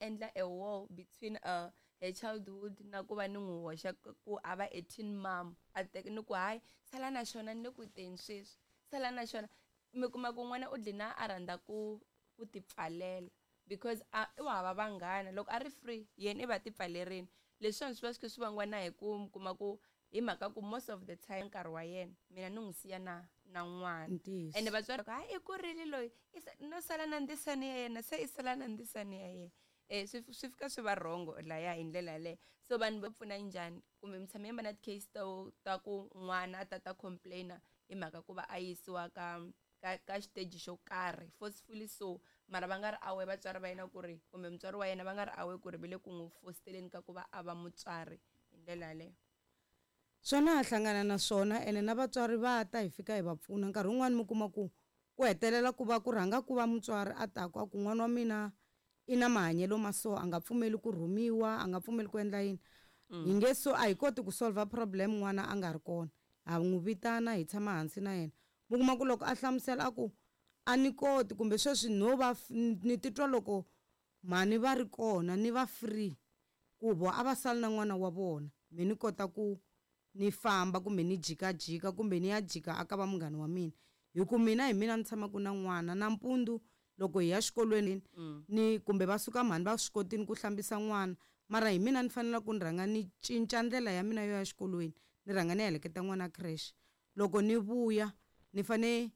endla a wall between her childhood na ku va ni n'wi hoxa ku a va a teen mom, a teka ni ku hayi, sala na xona, ni le ku teni sweswi, sala na xona. Mi kuma ku n'wana u dlina a rhandza ku tipfalela because a u hava vanghana. Loko a ri free, yena i va tipfalerini. Leswiwani swi va swi kha swi vangiwa na hi ku mi kuma ku hi mhaka ku most of the time nkarhi wa yena mina ni n'wi siya na n'wana. Ene vatswari hayi, i kurile loyi, no sala na ndzisani ya yena, se i sala na ndzisani ya yena. Swi fika swi va wrong laya hi ndlela yaleyo. So vanhu va pfuna njhani? Kumbe mi tshame mi va na ti-case ta ku n'wana a ta complaina hi mhaka ku va a yisiwa ka xiteji xo karhi forcefully, so mara va nga ri aware vatswari va yena ku ri, kumbe mutswari wa yena va nga ri aware ku ri va le ku n'wi fositeleni ka ku va a va mutswari hi ndlela yaleyo? Swona ha hlangana na swona, ene na vatswari va ta hi fika hi va pfuna. Nkarhi wun'wani mi kuma ku ku hetelela ku va ku rhanga ku va mutswari a taku a ku n'wana wa mina i na mahanyelo ma so, a nga pfumeli ku rhumiwa, a nga pfumeli ku endla yini. Hi nge so a hi koti ku solve problem n'wana a nga ri kona. Ha n'wi vitana, hi tshama hansi na yena. Mi kuma ku loko a hlamusela a ku a ni koti, kumbe sweswi no va ni titwa loko mhani va ri kona ni va free, ku vo a va sali na n'wana wa vona, me ni kota ku ni famba kumbe ni jikajika kumbe ni ya jika aka va munghana wa mina, hi ku mina hi mina ni tshamaka na n'wana nampundzu loko hi ya xikolweni ni kumbe va suka mhani va swi kotini ku hlambisa n'wana, mara hi mina ni fanele ku ni rhanga ni cinca ndlela ya mina yo ya xikolweni, ni rhanga ni heleketa n'wana creche. Loko ni vuya ni fane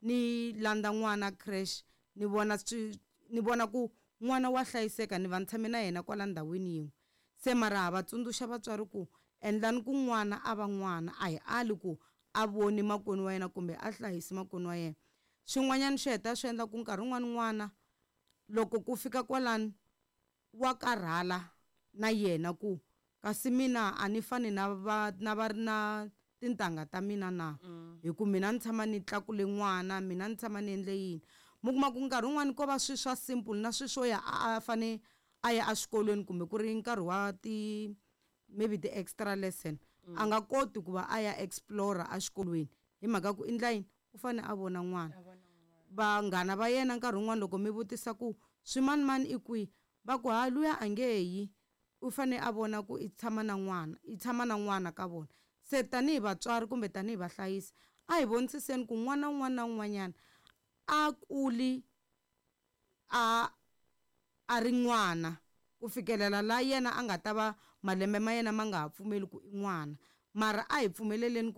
ni landza n'wana creche, ni vona swi, ni vona ku n'wana wa hlayiseka, ni va ni tshame na yena kwala ndhawini yin'we. Se mara ha va tsundzuxa vatswari ku endlani ku n'wana a va n'wana, a hi ali ku a voni makwenu wa yena kumbe a hlayisi makwenu wa yena. Swin'wanyana swi heta swi endla ku nkarhi wun'wani n'wana loko ku fika kwalano wa karhala na yena, ku kasi mina a ni fani na va na va na tintangha ta mina na, hi ku mina ni tshama ni tlakule n'wana, mina ni tshama ni endle yini. Mi kuma ku nkarhi wun'wani ko va swi swa simple na swi swo ya a fane a ya exikolweni, kumbe ku ri nkarhi wa ti maybe ti extra lesson, a nga koti ku va a ya explore exikolweni hi mhaka ku endla yini, u fane a vona n'wana. Vanghana va yena nkarhi wun'wani loko mi vutisa ku swimanimani i kwihi, va ku ha luya a nge yi, u fane a vona ku i tshama na n'wana, i tshama na n'wana ka vona. Se tanihi vatswari kumbe tanihi vahlayisi a hi vonisiseni ku n'wana un'wana na un'wanyana a kuli a ri n'wana ku fikelela la yena a nga ta va malembe ma yena ma nga ha pfumeli ku i n'wana, mara a hi pfumeleleni ku